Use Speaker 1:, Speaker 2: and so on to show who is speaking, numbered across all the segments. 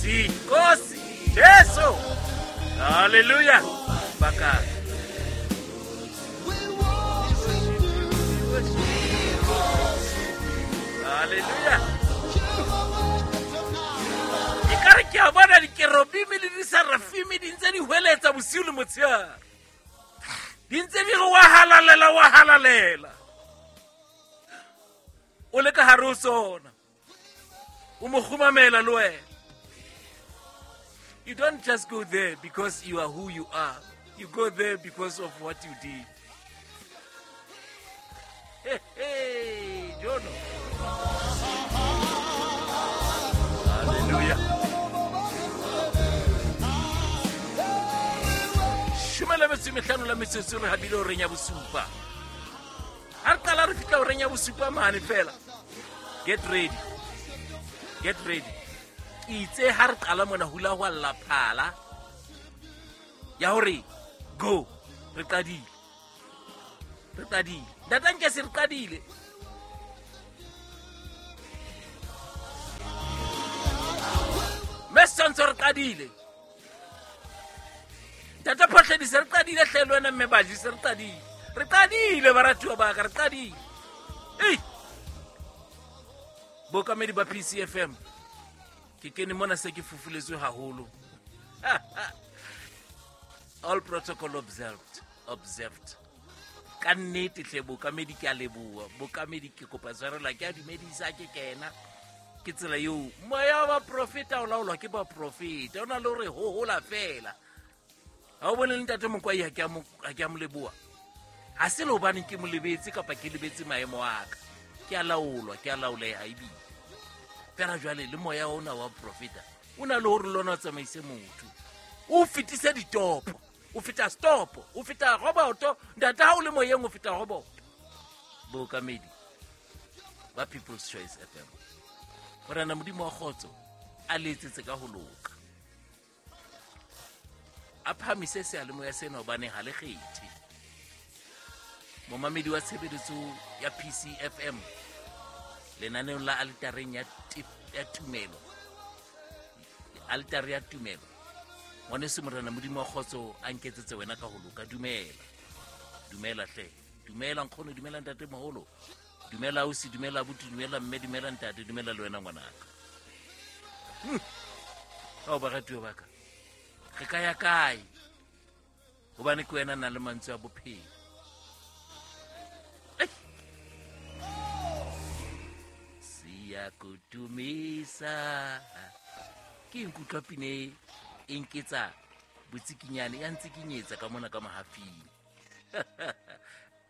Speaker 1: Nkosi, Nkosi, Jesu. Hallelujah. Baka. Hallelujah. Ekare ke a bona dikerobimi le disarafimi di ntse di hweletsa bosiu le motshehare. Di ntse di re wa halalela wa halalela. O le ka hare ho sona. O mo kgumamela le wena. You don't just go there because you are who you are. You go there because of what you did. Hey, hey, Jono. Hallelujah. Shome le metso e mehlano la metsotso re habile horeng ya bosupa. Ha re qala re fihla horeng ya bosupa mane fela. Get ready. Get ready. Ke itse ha re qala mona hula hwa lla phala ya hore go re qadile. Re qadile. Ntate Nkese re qadile. Mme Setshwantsho re qadile. Ntate Phohledi se re qadile hle le wena mme Baji se re qadile. Re qadile baratuwa ba ka re qadile. Ei! Bookamedi ba PCFM ke kene mona se ke fufuletswe haholo. All protocol observed, observed. Ka nnete hle bookamedi ke a leboha. Bookamedi ke kopa tshwarelo ke a dumedisa ke kena. Ke tsela eo moya wa baprofeta o laolwa ke baprofeta. O na le hore hohola fela. Ha o bone le ntate Mokwai ha ke a mo, ha ke a mo leboha. Ha se le hobane ke mo lebetse kapa ke lebetse maemo a ka. Ke a laolwa, ke a laoleha ebile. Fela jwale le moya ona wa profeta o na le hore le ona o tsamaise motho. O fetise ditopo, o feta stopo, o feta roboto. Ntate ha o le moyeng o feta roboto. Bookamedi ba People's Choice FM. Morena Modimo wa kgotso a le etsetse ka ho loka. A phahamise seyalemoya sena hobane ha le kgethe. Momamedi wa tshebeletso ya PCFM lenaneong la altareng ya ya tumelo. Altare ya tumelo. Ngwaneso Morena Modimo wa kgotso a nketsetse wena ka ho loka. Dumela. Dumela hle. Dumela nkgono, dumela ntate moholo. Dumela ausi, dumela abuti, dumela mme, dumela ntate, dumela le wena ngwanaka. Ao baratuwa ba ka. Re ka ya kae? Hobane ke wena nang le mantswe a bophelo. Ei! Siyakutumisa. Ke nkutlwa pina e e nketsa botsikinyane, ya ntsikinyetsa ka mona ka mahafing.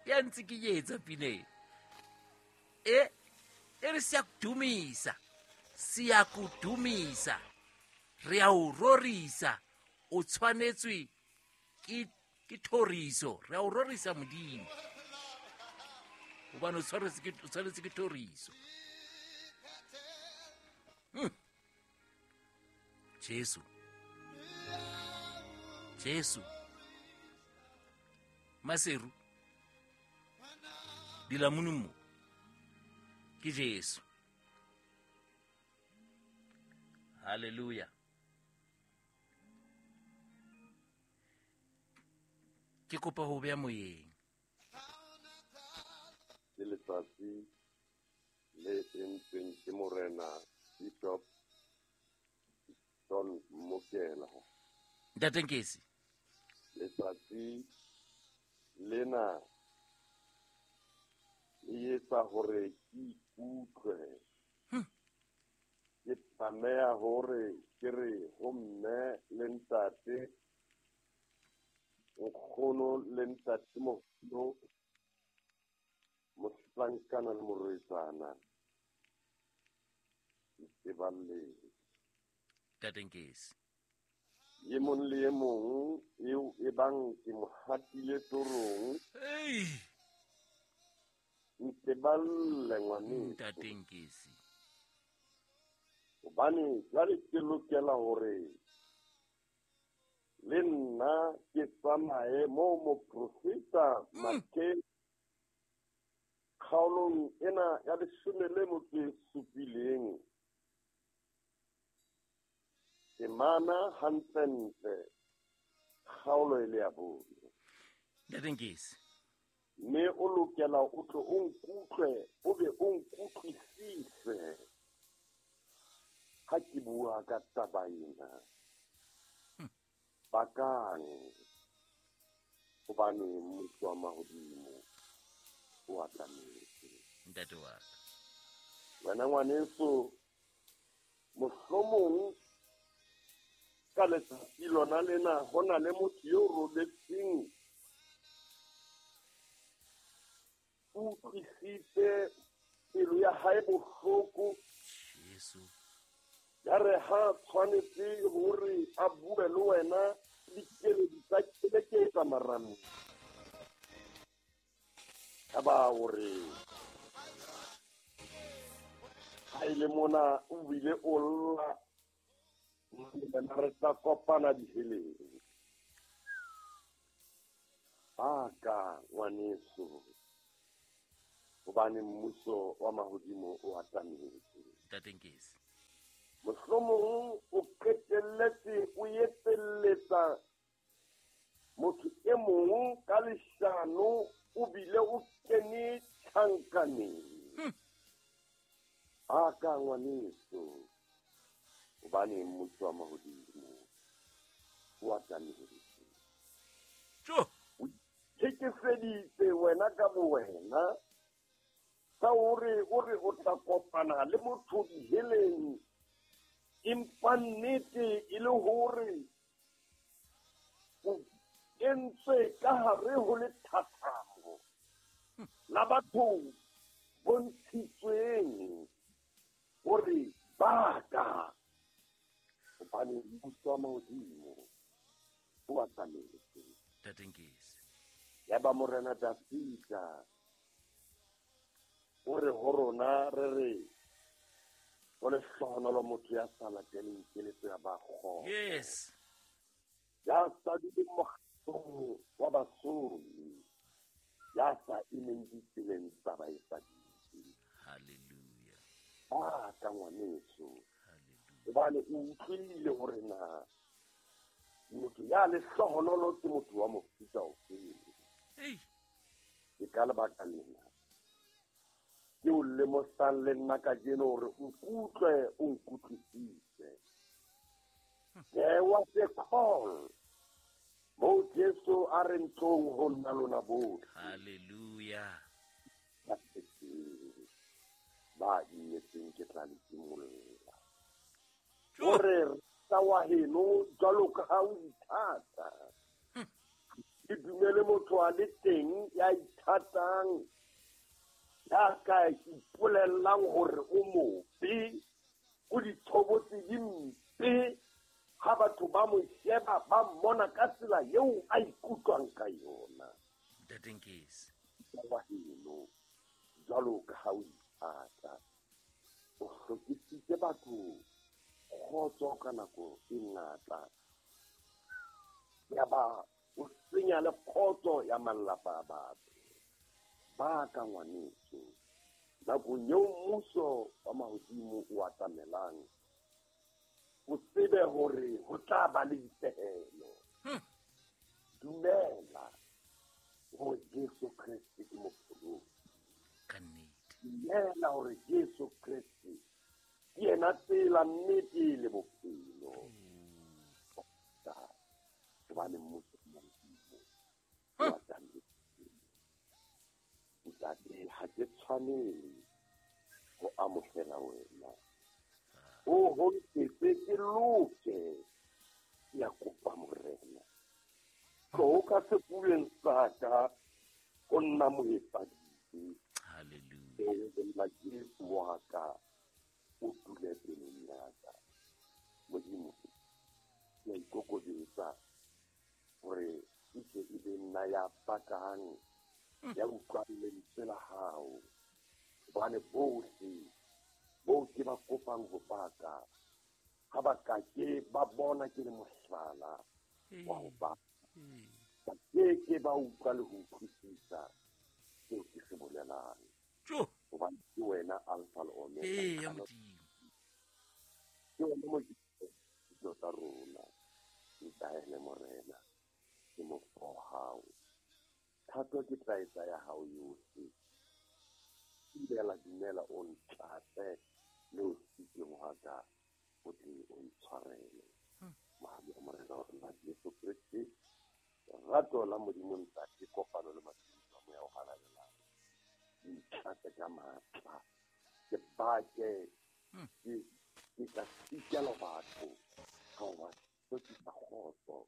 Speaker 1: Ya ntsikinyetsa pina e. E, e re siyakudumisa. Siyakudumisa. Re a o rorisa. O tshwanetswe ke, ke thoriso. Re a o rorisa Modimo. Hobane o tshwanetse ke, o tshwanetse ke thoriso. Jesu. Jesu. Maseru. Dilamunu mo. Ke Jesu. Hallelujah. Ke kopa ho beha moyeng.
Speaker 2: Ke letsatsi le entsweng ke Morena Bishop John Mokela.
Speaker 1: Ntate Nkesi.
Speaker 2: Letsatsi lena le etsa hore ke ikutlwe. Ke tlameha hore ke re ho mme le ntate, nkgono le ntate moholo, mohlankana le morwetsana, nteballeng.
Speaker 1: Ntate Nkesi.
Speaker 2: E mong le e mong eo e bang ke mo hatile torong.
Speaker 1: Ei!
Speaker 2: Nteballe ngwaneso.
Speaker 1: Ntate Nkesi.
Speaker 2: Hobane jwale ke lokela hore le nna ke tsamaye moo moprofeta Mattheu kgaolong ena ya leshome le motso e supileng. Temana hantlentle kgaolo e le ya 4.
Speaker 1: Ntate Nkesi.
Speaker 2: Mme o lokela o tlo o nkutlwe, o be o nkutlwisise ha ke bua ka taba ena. Bakang, hobane mmuso wa mahodimo o atametse.
Speaker 1: Ntate wa ka.
Speaker 2: Wena ngwaneso, mohlomong ka letsatsi lona lena ho na le motho yo robetseng, o utlwisitse pelo ya hae bohloko.
Speaker 1: Jesu.
Speaker 2: Ya re ha tshwanetse hore a bue le wena dikeledi tsa keleketsa marameng. Ya ba hore ha e le mona o bile o lla, wena re tla kopana diheleng. Baka ngwaneso, hobane mmuso wa mahodimo o atametse.
Speaker 1: Ntate Nkesi.
Speaker 2: Mohlomong o qetelletse o etselletsa motho e mong ka leshano, o bile o kene tjhankaneng. Baka ngwaneso, hobane mmuso wa mahodimo o atametse.
Speaker 1: Tjo!
Speaker 2: O ithekeseditse wena ka bowena ka hore o re o tla kopana le motho diheleng, empa nnete e le hore o entswe ka hare ho lethathamo la batho bontshitsweng hore baka, hobane mmuso wa mahodimo o atametse.
Speaker 1: Ntate Nkesi.
Speaker 2: Ya ba Morena Dafida o re ho rona re re ho lehlohonolo motho ya sa lateleng keletso ya ba kgopo.
Speaker 1: Yes.
Speaker 2: Ya sa duleng mokgatlong wa basomi, ya sa emeng ditseleng tsa baetsadibe.
Speaker 1: Hallelujah.
Speaker 2: Baka ngwaneso.
Speaker 1: Hallelujah.
Speaker 2: Hobane o utlwile hore na motho ya lehlohonolo ke motho wa mofuta ofeng.
Speaker 1: Ei.
Speaker 2: Ke ka lebaka lena ke o lemosang le nna kajeno hore o nkutlwe, o nkutlwisise. There was a call moo Jesu a re ntlong ho nna lona bohle.
Speaker 1: Hallelujah.
Speaker 2: Ba imetseng ke tla le timolla. O re rata wa heno jwalo ka ha o ithata. Ke dumele motho a le teng ya ithatang, ya ka ipolellang hore o mobe, o ditshobotsi di mpe, ha batho ba mo sheba ba mmona ka tsela eo a ikutlwang ka yona.
Speaker 1: Ntate Nkesi.
Speaker 2: Wa heno jwalo ka ha o ithata, o hlokisitse batho kgotso ka nako e ngata, ya ba o senya le kgotso ya malapa a batho. Baka ngwaneso, nakong eo mmuso wa mahodimo o atamelang, o tsebe hore ho tla ba le dipehelo. Dumela hore Jesu Kreste ke mopholosi.
Speaker 1: Ka nnete.
Speaker 2: Dumela hore Jesu Kreste ke yena tsela, nnete le bophelo. Hobane mmuso wa mahodimo o atametse. Ntate, ha ke tshwanele ho amohela wena. O ho nketse ke loke, ke a kopa Morena. Tloho ka sefubeng sa ka, o nna moetsadibe.
Speaker 1: Hallelujah.
Speaker 2: O nna Jesu wa ka, o dule pelong ya ka. Modimo, ke a ikokobetsa hore e tle e be nna ya pakang, ya utlwang lentswe la hao. Hobane bohle boo ke ba kopang ho paka, ha ba ka ke ba bona ke le mohlala wa ho paka. Ba ke ke ba utlwa le ho utlwisisa seo ke se bolelang.
Speaker 1: Tjo.
Speaker 2: Hobane ke wena Alpha le Omega.
Speaker 1: Ee, ya Modimo.
Speaker 2: Ke wena Modimo tsa rona. Lerato ke tla etsa ya hao yohle. Dumela, dumela, o ntlatse le o siteng hwa ka, o tle o ntshwarele. Mohau wa Morena wa rona Jesu Kreste, lerato la Modimo Ntate, kopano le matshediso a Moya o Halalelang, di ntlatse ka matla. Ke bake, ke ka sitelwa batho ka ho ba hlwekisa kgotso.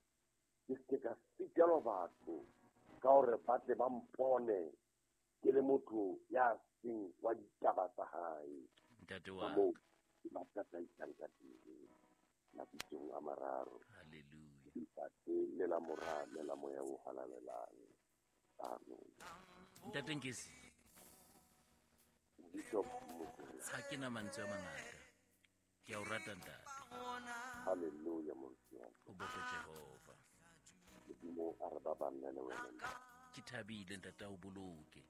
Speaker 2: Ke se ka sitelwa batho ka hore ba tle ba mpone ke le motho ya seng wa ditaba tsa hae.
Speaker 1: Ntate wa
Speaker 2: Ka moo ke ba tataisang ka teng, mabitsong a mararo.
Speaker 1: Hallelujah.
Speaker 2: Ntate le la Mora le la Moya o Halalelang. Amen.
Speaker 1: Ntate Nkesi.
Speaker 2: Bishop Mokoena.
Speaker 1: Ha ke na mantswe a mangata. Ke a o rata ntate.
Speaker 2: Hallelujah, moruti wa ka.
Speaker 1: O bokwe Jehova.
Speaker 2: Modimo a re ba banne le wena.
Speaker 1: Ke thabile ntate, a o boloke.